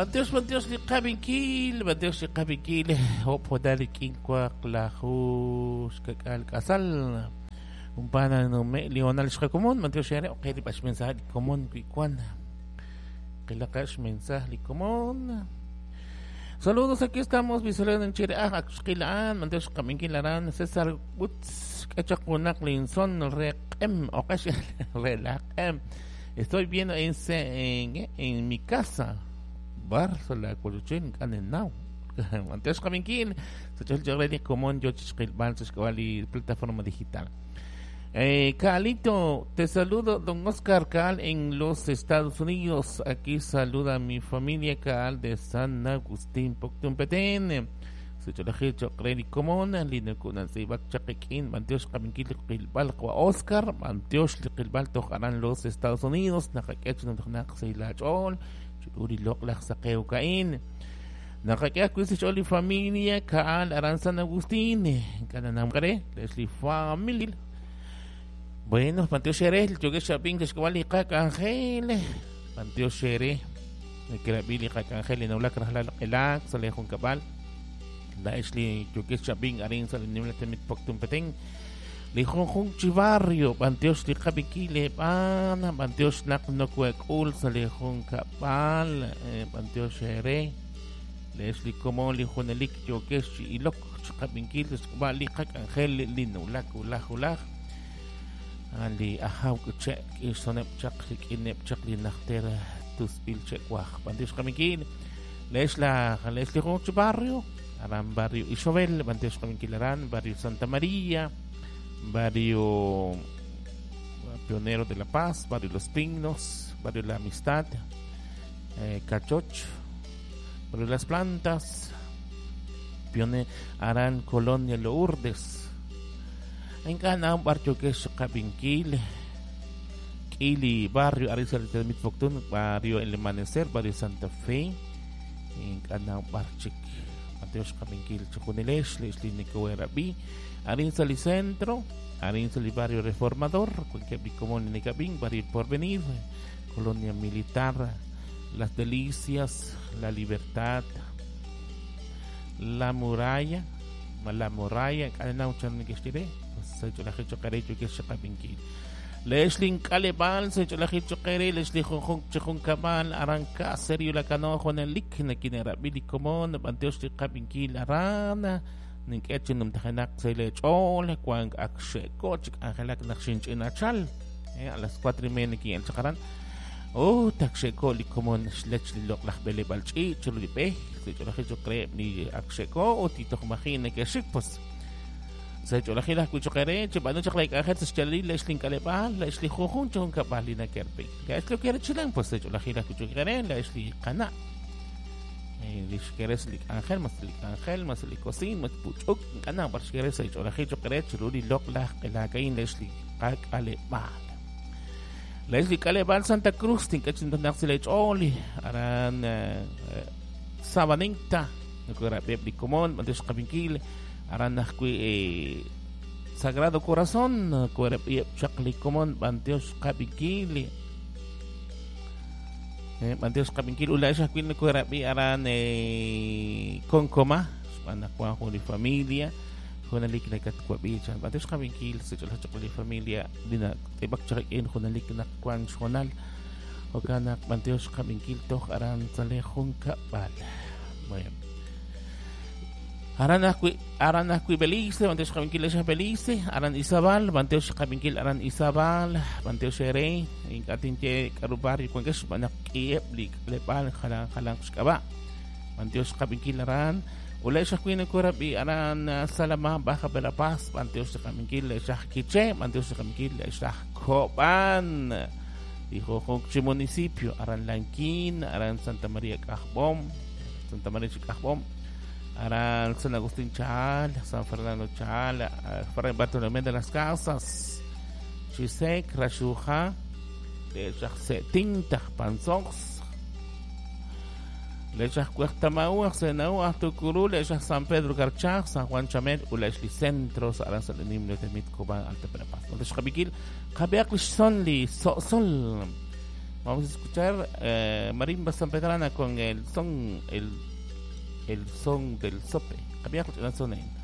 B'antiox b'antiox li qab'inkil, b'antiox li qab'inkil, hop hodal rik'in waqlaju xkak'al k'asal. Umpana nume Leonel xqakomon, b'antiox yare oqe li b'ax mensaje li komon wi wan. Qilaqax mensaje li komon. Saludos, aquí estamos, Visoleno en Chireaj, Axquilaan, b'antiox qab'inkil aran, César Butz, K'echaq Linson, Reqem, Oqax, Relaqem. Estoy viendo en mi casa. Barzo la koluchen kanenau. Antes qab'inkil, sachol chaqreli komon yo chichqilb'al sachk'awali plataforma digital. Kaalito, te saludo, don Oscar Kaal en los Estados Unidos. Aquí saluda a mi familia Kaal de San Agustín, Poctun Petén. Sacholaji chaqreli komon, lino kunan sibak chaqikin, b'antiox qab'inkil qilb'al qwa Oscar, b'antiox liqilb'al toj aran los Estados Unidos, naqak'ech naq seilach'ol, ch'uri loq laj saqew ka'in. Naqak'e ajwi' ch'ol li familia Kaal aran San Agustín, kananam qare, li familia. Bueno, b'antiox ere, yokex xab'in xk'ab'al li qak'anjel, b'antiox ere, nekerab'i li qak'anjel nawlak rajlal q'elak sa' li junkab'al. La li yokex xab'in arin sa' li nimla temit Poctun Petén. Li junjun chi barrio, b'antiox li qab'ikil eb'an, b'antiox naq nokuek'ul sa' li junkab'al, b'antiox ere, lex li komon li junelik yokex chi ilok chi qab'inkil xk'ab'a' li qak'anjel li nawlak wulaj wulaj. Ali ajaw k'che k'ixoneb' chaq rik'ineb' chaq li najter tusb'il che'waj. B'antiox qab'inkil, lex la lex li junjun chi barrio, aran barrio Ixobel, b'antiox qab'inkil aran barrio Santa María, barrio Pionero de la Paz, barrio Los Pinos, barrio La Amistad, Cachoch, barrio Las Plantas, Pione Aran Colonia Lourdes. Enka barrio que es Cabinquil, Kili, barrio Arizal de Mitfoctun, barrio El Amanecer, barrio Santa Fe, en Canao Barchik, Mateos Cabinquil, Chujunilesh, Leslie Nicoerabi, Arizal y Centro, Arizal y Barrio Reformador, cualquier común en Cabín, Barrio Porvenir, Colonia Militar, Las Delicias, La Libertad, La Muralla, La Muralla, Canao Channikestire, Leslie Kalebal, Secholajichoquere, Leslie Junjun Chujun Kabal, Aranca, Serio la Canojo, Nelik, Nekinera, Billy Comón, Banteos de Cabinkil, Arana, Ninkechin, Numtajanak, Selech, Ol, Juan Akshe, Koch, Angelak, Naxinch, Inachal, a las 4:30 aquí en Chacarán. Oh, Takshe, Licomón, Schlech, Lok, Lajbele, Balchi, Chululipe, Secholajichoquere, Ni Aksheko, Tito Majine, que pues. Secholaji kuchoqere, chibanu chaqlay k'ajet xchalil Leslie Kalebal, Leslie Jujun chun kabal lina kerpe. Leslie quiere chilan pues secholaji kuchoqere, Leslie qana. Lishkeres lik ángel, mas lik ángel, mas lik cocin, mas puchuk, qana barshkeres secholaji choqere, chuluri lok laj qelakain Leslie Kalebal. Leslie Kalebal Santa Cruz, tinkachin naqsilech oli, aran Sabanita, nukura bebli comón, mantesh qabinkil. Aran najkui Sagrado Corazón, Chakli Comón, Banteos Qabinkil. Banteos Qabinkil, Ula Shakil Kuerabi Aran Concoma, Juan Juli Familia, Junalik Nakatkuabi, Banteos Qabinkil, Sechol Chakli Familia, Dina Tebak Chakin, Junalik Nakwan Shonal, Okanak Banteos Qabinkil, Toj Aran Sale Junka Bal. Bueno. Aran Akui Belice, Banteos Qabinkil Esha Belice, Aran Izabal, Banteos Qabinkil Aran Izabal, Banteos Ere, Inkatinche Karubari, Cuenques, Banak Kieb, Lepal, Jalan, Jalan, Xkaba, Banteos Qabinkil Aran, Ula Esha Kuina Kurabi, Aran Salama, Baja Verapaz, Banteos Qabinkil Esha Quiche, Banteos Qabinkil Esha Coban, dijo Jonchi municipio, Aran Lanquín, Aran Santa María Cajbom, Santa María Chicajbom, Aran San Agustín Chal, San Fernando Chal, Fray Bartolomé de las Casas, Chisek, Rashuja, Lechach Panzox, Lechach Cuertamaú, Senau, Tucurú, Lechach San Pedro Carchaj, San Juan Chamel, Ulechli Centros, Aran Salenim, Letemit, Cobán, Alta Verapaz. Entonces, Jabiquil, Jabiak Sonli, Sol, Vamos a escuchar Marimba San Pedrana con el son, el son del sope. Había son.